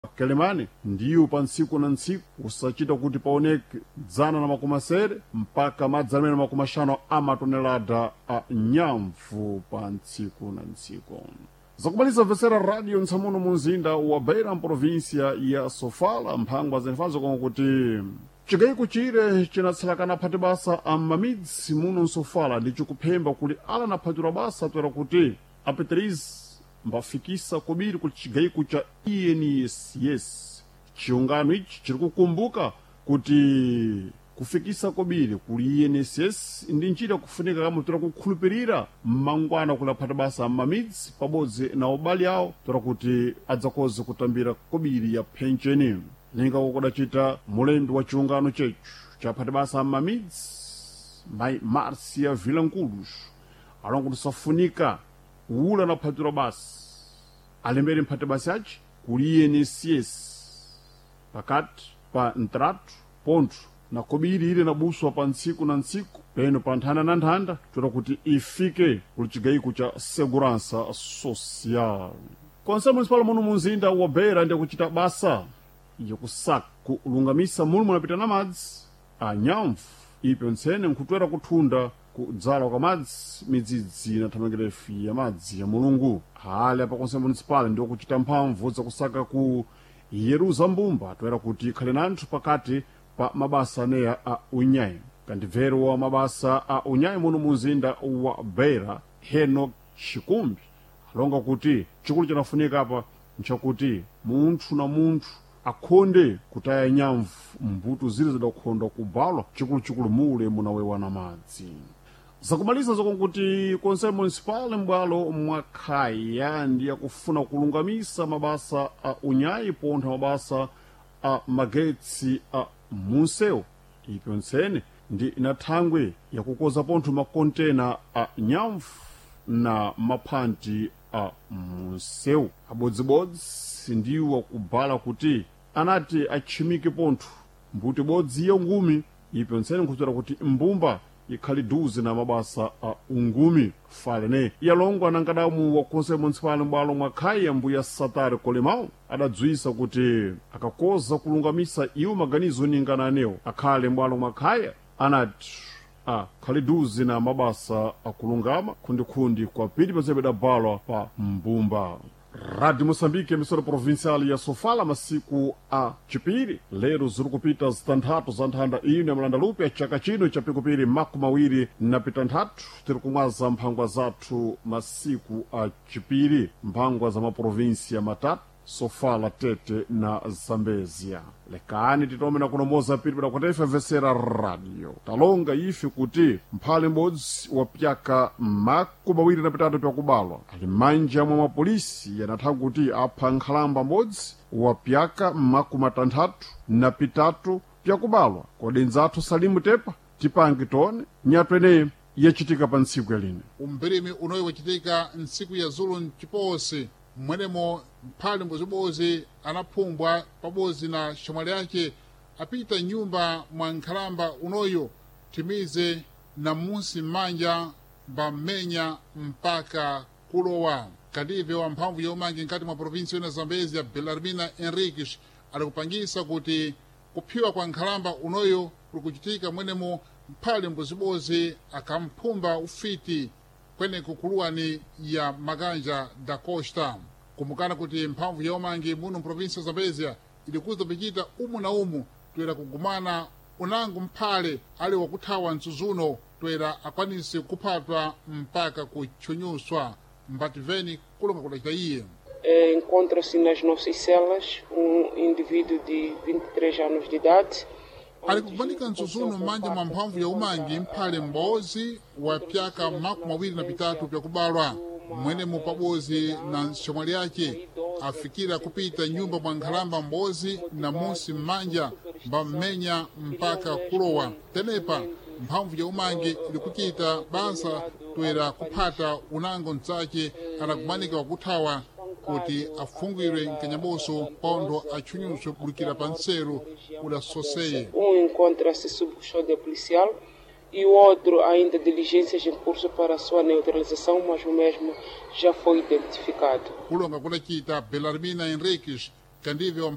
Kelemani ndiyo pa ntsiku na ntsiku usachita kuti paoneke dzana na makumi asere mpaka madzana amene makumi axanu amatonelada a nyamvu pa ntsiku na ntsiku. Zakumaliza mvetsera radio ntsamuno mu mzinda wa Beira mprovinsia ya Sofala, mphangwa zenifazo koma kuti chikayiko chire chinatsalakana phati basa a mamidzi muno msofala ndi chikuphemba kuli ala naphatira basa toera kuti apeterize mbafikisa kobiri ku chigayiko cha INSS. Chiungano ichi chiri kukumbuka kuti kufikisa kobiri kuli INSS ndi njira kufunika kamwe toera kukhulupirira mmangwana kuli aphati basa mmamidzi pabodzi na ubali awo toera kuti adzakoze kutambira kobiri ya phencheni. Linga kudacita mulembi wa chiungano chechu cha aphati basa mmamidzi mayi Marcia Vilanculos alonga kuti safunika ula naphatira basi alembere mphati basi aci kuli INSS pakati pa ntratu pontho na kobiri ile nabuswa pa ntsiku na ntsiku peno pa nthanda na nthanda toera kuti ifike kuli chigayiko cha segurança social. Konse municipal muno mu mzinda wa Beira ndi kuchita basa yakusaka kulungamisa mulu munapita na madzi a nyamvu ipyo ntsene nkhutwera kuthunda kudzala kwa madzi midzidzi na thamangirefi ya madzi ya mulungu. Hali apa konse municipal ndi kuchita mphamvu zakusaka ku yeruza mbumba toera kuti ikhale nanthu pakati pa mabasa aneya a unyayi. Kandibvero wa mabasa a unyayi muno mu mzinda wa Beira Henok Chikumbi alonga kuti chikulu chinafunika apa nchakuti munthu na munthu akhonde kutaya nyamvu mbuto zile zidakhonda kubalwa chikuluchikulu mule munawewa na madzi. Zakumaliza zokonkuti konse municipal m'bwalo mwakhaya ndi akufuna kulungamisa mabasa a unyayi pontha mabasa a magetsi a munsewu ipyo ntsene ndi inathangwe yakukoza pontho makontena a nyamvu na maphanti a munsewu. Abodzibodzi ndiwo akubala kuti anati atchimike pontho mbuti bodzi ya ngumi ipyo ntsene nkhuzera kuti mbumba ikhali duze na mabasa a ungumi. Falene yalongwa na nkadamu wa konse municipal m'bwalo mwa khaya mbuya Satari Kolemao adadzwisa kuti akakoza kulungamisa iwo maganizo ningana anewo akhale m'bwalo mwa khaya anati akhali duze na mabasa akulungama khundikhundi kwa pili pazebe dabalwa pa mbumba. Rádio Moçambique, emissora provincial ya Sofala, masiku a chipiri lero ziri kupita zitanthatu za nthanda ino ya mlandalupe ya chaka chino cha pikupiri makumi awiri na pitanthatu. Tiri kumwaza mphangwa zathu masiku a chipiri, mphangwa za maprovinsia matatu Sofala, Tete na Zambezia. Lekani titome na kunomoza pili padakwata ife vesera radio talonga ife kuti mphale m'bodzi wa pyaka makumi awiri na pitatu pyakubalwa ali manja mwa mapolisi yanatha kuti apha nkhalamba m'bodzi wa pyaka makumi atanthatu na pitatu pyakubalwa. Kodi nzathu Salimu Tepa tipange tone nyatwa ineyi yachitika pa ntsiku yaline. Umbirimi unoyi wachitika ntsiku ya zulu mchiposi mmwenemo mphale mbozibozi anaphumbwa pabodzi na xamwali yake apita nyumba mwa nkhalamba unoyo timize na munsi m'manja mbam'menya mpaka kulowa. Kadive wa mphamvu ya umangi nkati mwa provinsi yona Zambezi ya Belarmina Henriques alikupangisa kuti kuphiwa kwa nkhalamba unoyo kulikuchitika mwenemo mphale mbozibozi akamphumba ufiti kweneko kuluwani ya Maganja da Costa. Kumbukana kuti mphamvu ya umangi muno mprovinsi ya Zambezia ilikuza pichita umu na umu toera kugumana unango mphale ali wakuthawa msuzuno toera akwanise kuphatwa mpaka kutchunyuswa mbativeni kulonga kudacita iye. Encontra-se nas nossas celas indivíduo de 23 anos de idade. Ali kukumanika msuzuno m'manja mwa mphamvu ya umangi mphale m'bodzi wa pyaka makumi awiri na pitatu pyakubalwa mwenemo pabodzi na nxamwali yake afikira kupita nyumba mwa nkhalamba m'bodzi na munsi m'manja mbam'menya mpaka kulowa. Tenepa mphamvu ya umangi ilikuchita basa toera kuphata unango mtsake anakumanika wakuthawa kuti afungwirwe mkanyaboso pontho atchunyuswe kulikira pa nseru udasoseye. Encontra-se sob custódia policial e o outro ainda diligências em curso para a sua neutralização, mas o mesmo já foi identificado. Kulonga kudacita Belarmina Henriques Kandive wa